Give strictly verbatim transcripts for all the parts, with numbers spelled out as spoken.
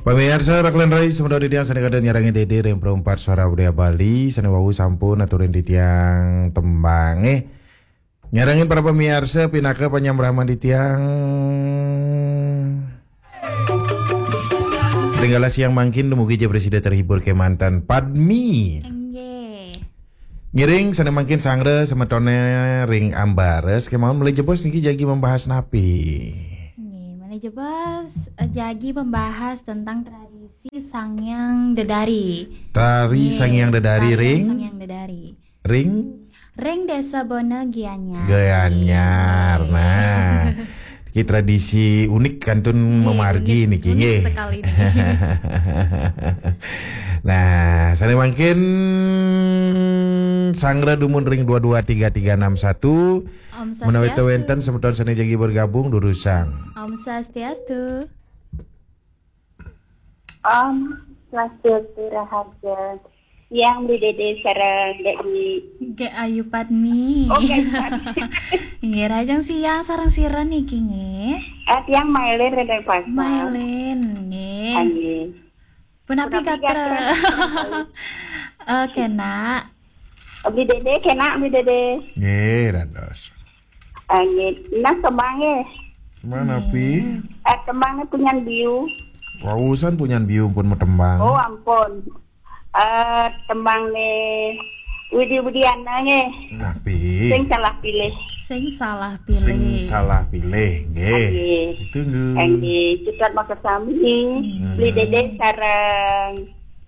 Pamiarsa, rakelan rai, semeton titiang sane kantun nyarengin Dede ring Perempat Suara Budaya Bali, sane wau sampun aturin titiang tembang, eh. Nyarengin para pamiarsa, pinaka panyambraman titiang. Ring galah siang mangkin, dumugi ja prasida terhibur kemanten Padmi. Nggih. Ngiring sane mangkin sanggra semetone ring ambara, kemawon malih jebos niki jagi membahas napi? Nggih, malih jebos, eh, jagi membahas tentang tradisi Sang Hyang Dedari. Tari Nggih, Sang Hyang Dedari tarian ring? Sang Hyang Dedari. Ring? Ring Desa Bona Gianyar. Gianyar. Nggih. Nah, niki tradisi unik kantun Nggih, memargi unik, niki, unik nggih. Sekali niki. Nah, sane mangkin sanggra dumun ring dua dua tiga tiga enam satu. Om Menawi Swastiastu. Wenten semeton sane jagi bergabung, durusang. Om Swastiastu. Om Swastiastu, raharja. Tiang Bli Dede sareng Dek Dwi. Nggih, Ayu Padmi. Oh, Ayu Padmi. Nggih, rahajeng siang sareng sira niki nggih. Ah, tiang Mailin ring Denpasar. Mailin, nggih. Ah, nggih. Punapi gatra? Punapi gatra? Eh, kenak. Bli Dede, kenak Bli Dede. Nggih, dados. Ah, nggih. Nah, tembang nggih. Tembang napi? Nggih. Eh, tembang nggih punyan Biu. Wausan punyan Biu pun matembang. Oh, ampun. Eh, tembang nggih Widi Widiana nggih. Napi? Sing salah pilih. Sing salah pilih. Sing salah pilih, nggih. Nggih. Tunggu. Nggih, cutet makasami. Hmm. Bli Dede sareng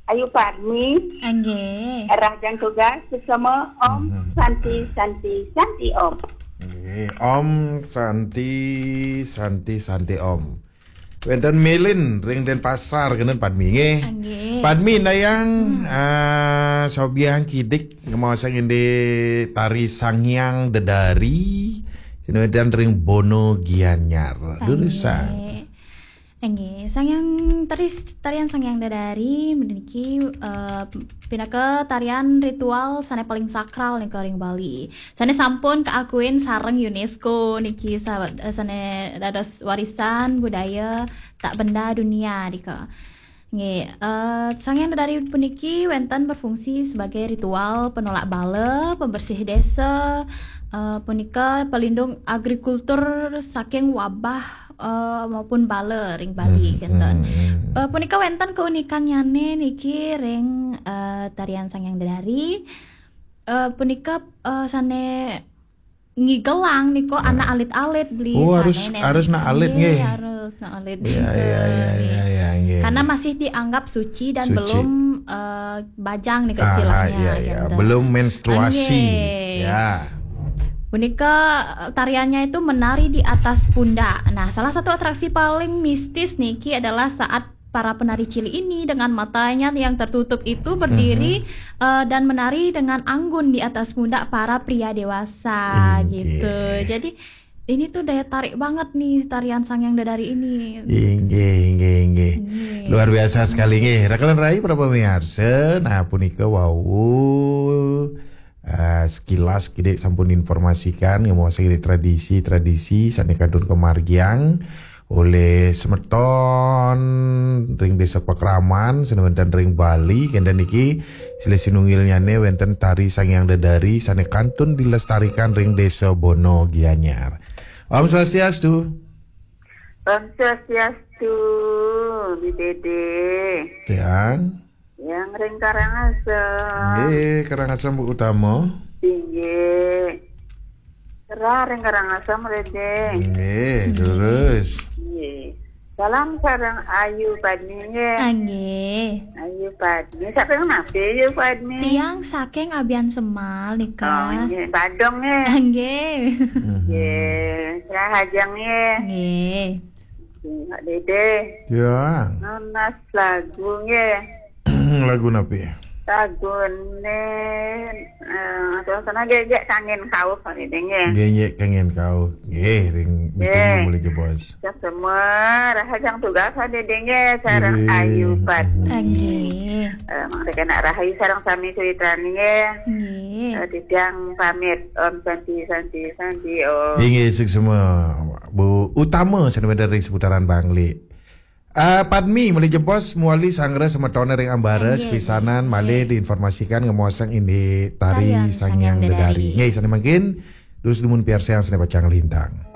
Ayu Padmi. Nggih. Rahajeng tugas sesama Om Hmm. Santi, Santi, Santi Om. Nggih, Om Santi, Santi, Santi Om. Wenten Melin ring Denpasar kenten Padmi nggih. Nggih. Padmi ndayang, Hmm. ah, sobiahang kidik ngemaosang indik tari Sang Hyang Dedari, sane wenten ring Bona Gianyar. Nggih. Durusang. Nggih, Sang Hyang tari, tarian Sang Hyang Dedari meniki, eh, pinaka tarian ritual sane paling sakral nika ring Bali. Sane sampun kaakuin sareng UNESCO niki sa-, eh, sane dados warisan budaya tak benda dunia nika. Nggih, eh, Sang Hyang Dedari puniki wenten berfungsi sebagai ritual penolak bala, pembersih desa, eh, punika pelindung agrikultur saking wabah, eh, maupun bala ring Bali, Hmm, kenten. Hmm, hmm. Eh, punika wenten keunikannyane niki ring, eh, tarian Sang Hyang Dedari. Eh, punika, eh, sane ngigelang nika Nah. anak alit-alit Bli Oh, sane harus, nen. Harus nak alit Nggih, nggih. Harus nak alit Ya, nika, ya, ya, nggih. Ya, ya, nggih. Karena masih dianggap suci dan Suci. belum, eh, bajang nika Ah, istilahnya, ya, ya. kenten. Belum menstruasi. Nggih. Ya. Punika, eh, tariannya itu menari di atas pundak. Nah, salah satu atraksi paling mistis niki adalah saat para penari cilik ini dengan matanya yang tertutup itu berdiri, Mhm. eh, dan menari dengan anggun di atas pundak para pria dewasa, Inggih. gitu. Jadi, ini tuh daya tarik banget nih tarian Sang Hyang Dedari ini. Inggih, inggih, inggih. Inggih. Luar biasa sekali nggih. Rakelan rai para pamiarsa, nah punika wau, eh, sekilas kidik sampun informasikan ngemaosang indik tradisi-tradisi sane kantun kamargiang olih semeton ring Desa Pakraman, sane wenten ring Bali, kenten niki silih sinunggilnyane wenten tari Sang Hyang Dedari sane kantun dilestarikan ring Desa Bona Gianyar. Om Swastiastu. Om Swastiastu, Bli Dede. Tiang. Yang ring Karangasem. Nggih, Karangasem Bu Utama. Inggih. Rah ring Karangasem, Dede. Nggih, Nggih. Terus. Nggih. Salam sareng Ayu Padmi, nggih. Ah, nggih. Ayu Padmi. Saking napi, Ayu Padmi? Tiang saking Abiansemal nika. Oh, nggih. Badung, nggih. Ah, nggih. Mhm. Nggih. Rahajeng, nggih. Nggih. Nggih, Pak Dede. Ya. Nunas lagu, nggih. Lagu napi? Lagune, eh, suasana gegek kangen kauh, Pak Dede, nggih. Gegek kangen kauh. Nggih, ring Nggih. Ditunggu mulih jebos. Kita semua rahajeng tugas, Pak Dede, nggih, sareng Nggih. Ayu Padmi. Nggih. Eh, mangda kenak rahayu sareng sami sawitran, nggih. Nggih. Eh, titiang pamit. Om Santi, Santi, Santi, Om. Inggih, suksma. Bu Utama, sane wenten ring seputaran Bangli. Ah, Padmi, malih jebos mawali sanggra semetone ring ambara. Nggih. Sepisanan malih diinformasikan ngemaosang indik tari Tarian Sang Hyang Hyang Dedari. Dedari. Nggih, sane mangkin, terus dumun piarsayang sane pacang lintang.